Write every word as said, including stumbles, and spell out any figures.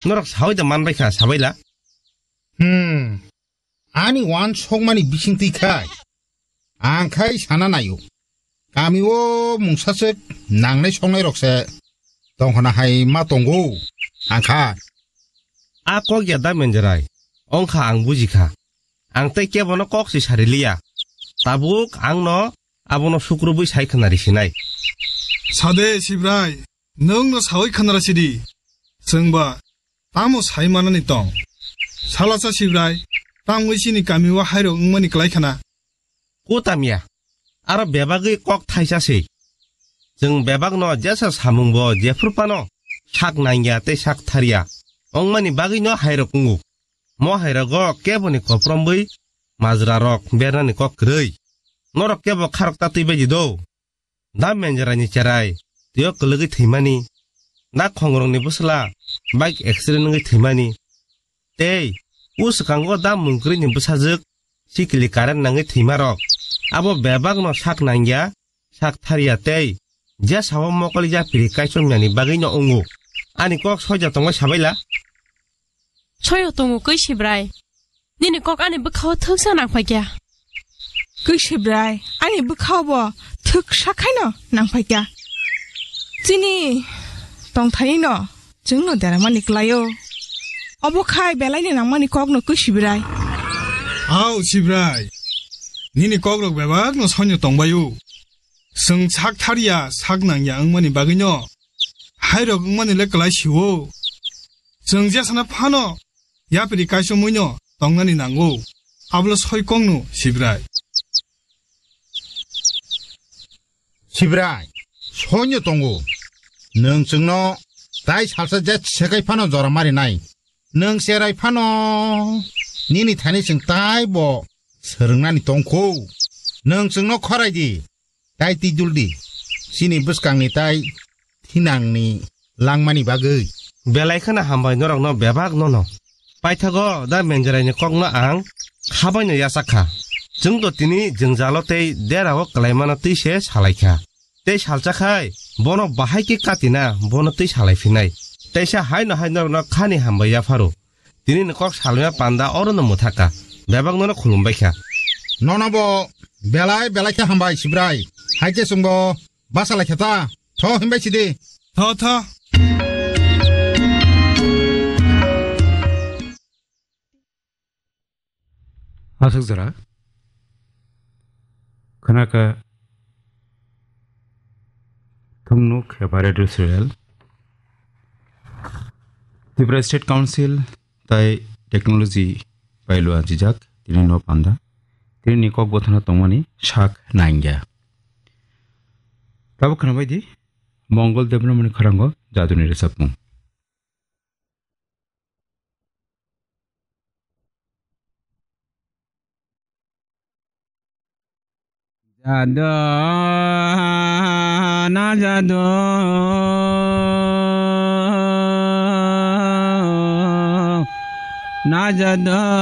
Norok sawi da manbai kha, sabaila. Hmm. Ani wan sokmani bising twi khai. Ang khai sana naio. Kami o mungsaswk nangnai soknai rok se tongkhona hai ma tongo. Ang kha. A kok ya da menjerai. Ongkha ang buji kha. Ang tei kebono kok si sari liya. Tabuk ang no abono sukrubui sai khna risinai. Sade Sibrai, nwng no sawi khna rasi di. Chwng ba tamo sai manani tong? Salasa Sibrai, tamo chini kami o hairok wngmani klai khna? Kutamya, aro bebagwi kok thaisa se. Chwng bebakno jesa samungbo jephru phano sak nangya tei sak tharya wngmani bagwino hairok wngo. Mo hairogo keboni kopromwi majrarok bernani kok kwrwi. Norok kebo kharok tatwi baidi do. Da menjaraini cherai twiyo kwlwgwi thwimani, da khongrokni bwsla bike accident wngwi thwimani, tei o swkango da mungkwrwini bwsajwk sikili current nangwi thwimarok, abo bebakno sak nangya, sak tharya tei jesao mokol yapiri kaichomyani bagwino wngo. Ani kok soija tongwi sabaila. Soyo tongo kwi Sibrai. Nini kok ani bwkhao thwksa nangphaikya. Kwi Sibrai, ani bwkhao bo thwksa khaino nangphaikya. Chini tongthaino chwngno deramani klaio. Obo khai belaini nangmani kokno kwi Sibrai. Au Sibrai, nini kokrok bebakno soino tongbaio. Chwng sak tharya, sak nangya wngmani bagwino hairok wngmani le klai sio. Chwng jesana phano yapri kaichomwino tongnani nango. Ablo soi kongno Sibrai. Sibrai, soino tongo. Nwng chwngno tai salsa je sekai phano jora marinai. Nwng cherai phano nini thani chwng tai bo swrwngnani tongkho. Nwng chwngno khorai di. Tai twi dul di, chini bwskangni tai thinangni langmani bagwi. Belai kheno hambai norokno bebak nono. Paithago da menjeraini kokno ang khabaino yachak kha. Chwngto tini jwngjalo tei derao kwlaimano twi se salai kha. Tei salcha khai bono bahai khe katina bono twi salai phinai. Teisa haino hai norokno khani hambai yapharo. Tini ni kok salmya panda oro no mwthaka. Bebak nono khulumbai kha. Nono bo belai belai khe hambai Sibrai. Hai khe chwngbo basa lai kha ta. Tho himbai sidi. Tho, tho. Aswk jora. Khnaka Thungnuk Hepa Radio Serial. Tripura State Council tai technology bai lua jijak tini no panda. Tini ni kok bothana tongmani sak nangya. Tabuk khwnabai di Mongol Debbarmani khwrango jaduni rwchapmung. Jadu, na jadu, na jadu.